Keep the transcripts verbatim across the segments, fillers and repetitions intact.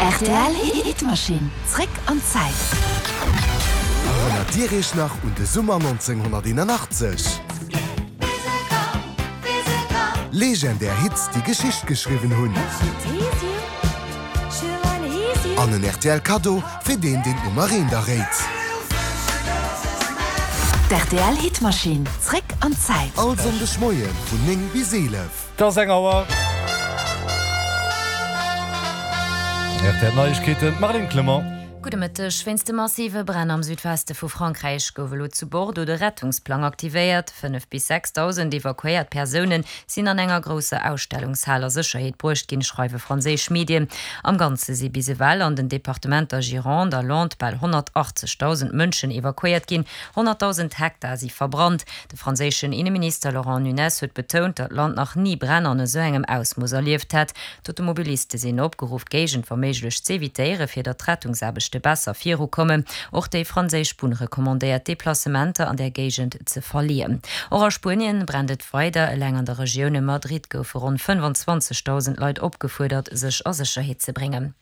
Rtl Hitmaschinn, zréck an d'Zäit. Erënnert Dir Iech nach un de Summer nonzénghonnerteenanachtzeg? Legendär Hits, déi Geschicht geschriwwen hunn. An en rtl Kaddo fir deen, deen d'Nummer eent erréit. D'RTL Hitmaschinn, zréck an d'Zäit. All Sonndeg Moie vun néng bis eelef. Et ass eng Auer. Rtl Neiegkeeten, d'Marlène Clement. Gudde Mëtteg. Wéinst de massive Bränn am Südweste vu Frankräich gouf elo zu Bordeaux de Rettungsplang aktivéiert. Fënnef bis sechsdausend evakuéiert Persoune sinn an enger grousser Ausstellungshal a Sécherheet bruecht ginn, schreiwe franséisch Medien. Am Ganze si bis ewell an den Departementer Gironde a Landes bal honnertachtzegdausend Mënschen evakuéiert ginn. Honnertdausend Hektar si verbrannt. De franséischen Inneminister Laurent Nunez huet betount, datt d'Land nach ni Bränn an esou engem Ausmooss erlieft hätt. D'Automobiliste sinn opgeruff, d'Géigend wa méiglech z'evitéieren, fir datt d'Rettungsaarbechte besser virukommen. Och déi franséisch Bunn recommandéiert, d'Deplacementer an där Géigend ze verleeën. Och a Spuenien brennt et weider. Eleng an der Regioun ëm Madrid goufe ronn fënnfanzwanzegdausend Leit opgefuerdert, sech a Sécherheet ze bréngen.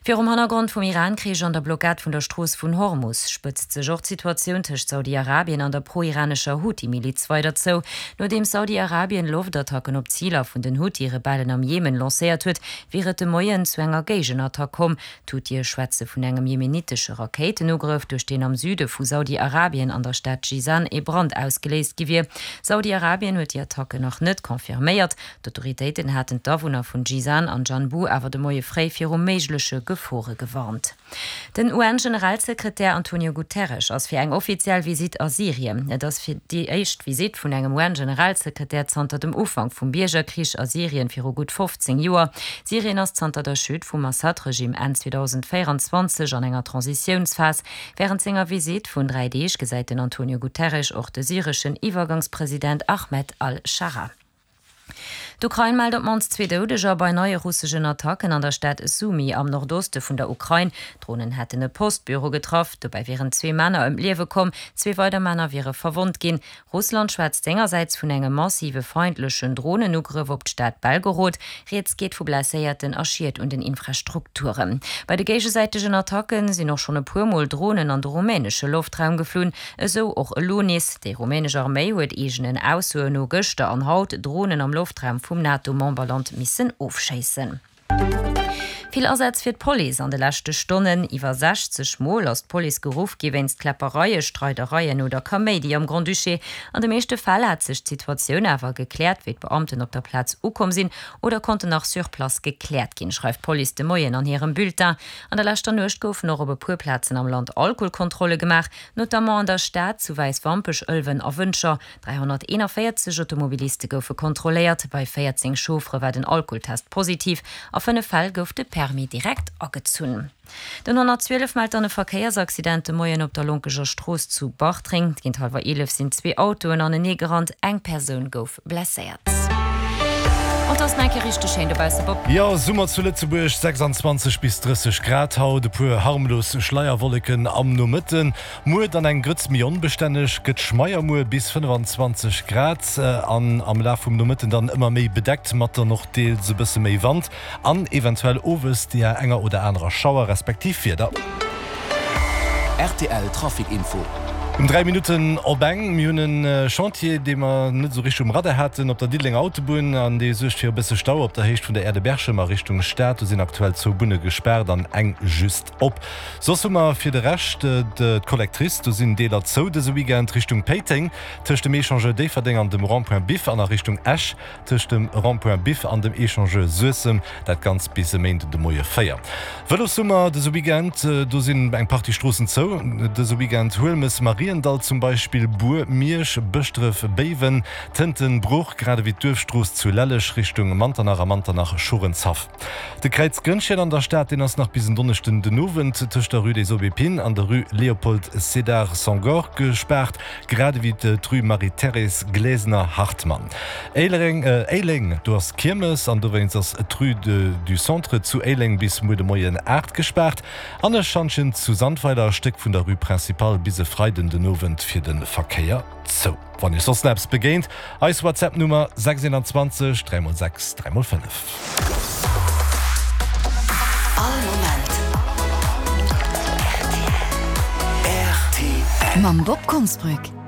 Virum Hannergrond vum Iran-Krich an der Blockad vun der Strooss vun Hormus spëtzt sech och d'Situatioun tëscht Saudi-Arabien an der pro-iranescher Huthi-Miliz weider zou. Nodeems Saudi-Arabien Loftattacken op Ziler vun den Huthi-Rebellen am Jemen lancéiert huet, wier et de Moien zu enger Géigenattack komm. D'Huthie schwätze vun engem jemenitesche Rakéitenugrëff, duerch deen am Süde vu Saudi-Arabien an der Stad Jizan ee Brand ausgeléist gi wier. Saudi-Arabien huet déi Attacken nach net confirméiert. D'Autoritéiten haten d'Awunner vun Jizan an Janbu awer de Moie fréi viru méigleche Gefore gewarnt. Den U N-Generalsekretär Antonio Guterres ass fir eng offiziell Visitt a Syrien. Et ass fir déi éischt Visitt vun engem U N-Generalsekretär zanter dem Ufank vum Biergerkrich a Syrien viru gutt fofzéng Joer. Syrien ass zanter der Chute vum Assad-Regime Enn zweedausendvéierenzwanzeg an enger Transitiounsphas. Wärend senger Visitt vun dräi Deeg gesäit den Antonio Guterres och de syreschen Iwwergangspresident Ahmed al-Scharaa. D'Ukrain mellt op d'mannst zwee Doudeger bei neie russeschen Attacken an der Stad Sumy am Nordoste vun der Ukrain. Dronen hätten e Postbüro getraff, dobäi wieren zwee Männer ëm d'Liewe komm, zwee weider Männer wiere verwonnt ginn. Russland schwätzt sengersäits vun engem massive feindlechen Dronenugrëff op d'Stad Belgorod. Rieds geet vu Blesséierten a Schied un den Infrastrukturen. Bei de géigesäitegen Attacke sinn och schonn e puer Mol Dronen an de rumänesche Loftraum geflunn, esou och elo nees. Déi rumänesch Arméi huet eegenen Aussoen no gëschter an haut Dronen am Loftraum vum NATO-Memberland missen ofschéissen. Vill Asätz fir d'Police an de leschte Stonnen. Iwwer sechzeg Mol ass d'Police geruff gi wéinst Kläppereien, Streidereien oder Kaméidi am Grand-Duché. An de meeschte Fäll hat sech d'Situatioun awer gekläert, wéi d'Beamten op der Plaz ukomm sinn oder konnten nach sur place gekläert ginn, schreift d'Police de Moien an hirem Bulletin. An der leschter Nuecht goufen och op e puer Plazen am Land Alkoholkontrolle gemaach, notamment an der Stad, zu Wäiswampech, Ëlwen a Wëntger. dräihonnerteenanvéierzeg Automobiliste goufe kontrolléiert, bei véierzéng Chauffere war den Alkoholtest positiv, a fënnef Fäll gouf de Permis direkt agezunn. Den honnertzwielef mellt dann e Verkéiersaccident de Moien op der Lonkeger Strooss zu Bartreng. Géint hallwer eelef sinn zwee Autoen anenee gerannt, eng Persoun gouf blesséiert. An et ass nach eng Kéier richteg schéin dobausse, Bob. Jo, Summer zu Lëtzebuerg, sechsanzwanzeg bis drësseg Grad haut, e puer harmlos Schleierwolleken am Nomëtten. Muer dann eng Grëtz méi onbestänneg, gëtt schmeier muer, bis fënnfanzwanzeg Grad an am Laf vum Nomëtten dann ëmmer méi bedeckt mat dann och deels e bësse méi Wand an eventuell owes deeër enger oder anerer Schauer respektiv Wieder. Rtl Trafic Info. Um dräi Minutten op eng. Mir hunn e Chantier, dee mer net esou richteg um Radar haten, op der Diddelenger Autobunn an dee suergt fir e bësse Stau op der Héicht vun der Aire de Berchem a Richtung Stad. Do sinn aktuell zwou Bunne gespaart an eng just op. Soss hu mer fir de Rescht d'Collectrice, do sinn Deeler zou dëse Weekend, Richtung Péiteng tëscht dem Echangeur Déifferdeng an dem Rond-point Biff an a Richtung Esch tëscht dem Rond-point Biff an dem Echangeur Suessem, dat Ganzt bis e Méinden de Moie véier. Vëlossummer dëse Weekend, do sinn eng Partie Stroossen zou dëse Weekend, Huelmes, Mariendall zum Beispill, Bur, Miersch, Bëschdref, Béiwen, Tënten, Bruch, grad ewéi d'Duerfstrooss zu Lelleg Richtung Manternach a Manternach-Schorenshaff. De Kräiz Grënnchen an der Stad, deen ass nach bis en Donneschden den Owend tëscht der Rue des Aubépines an der Rue Léopold Sédar Senghor gespaart, grad ewéi d'Rue Marie-Thérèse Glesener-Hartmann. Éilereng, Éileng, do ass Kiermes an dowéinst ass d'Rue du Centre zu Éileng bis muer de Moien aacht gespaart an e Schantjen zu Sandweiler, e Stéck vun der Rue Principale bis e Freiden den Owend fir de Verkéier zou. Wann Iech soss nach eppes begéint, eis WhatsApp Nummer sechs eenanzwanzeg dräi mol sechs dräi mol fënnef. All Moment Mam Bob Konsbrück.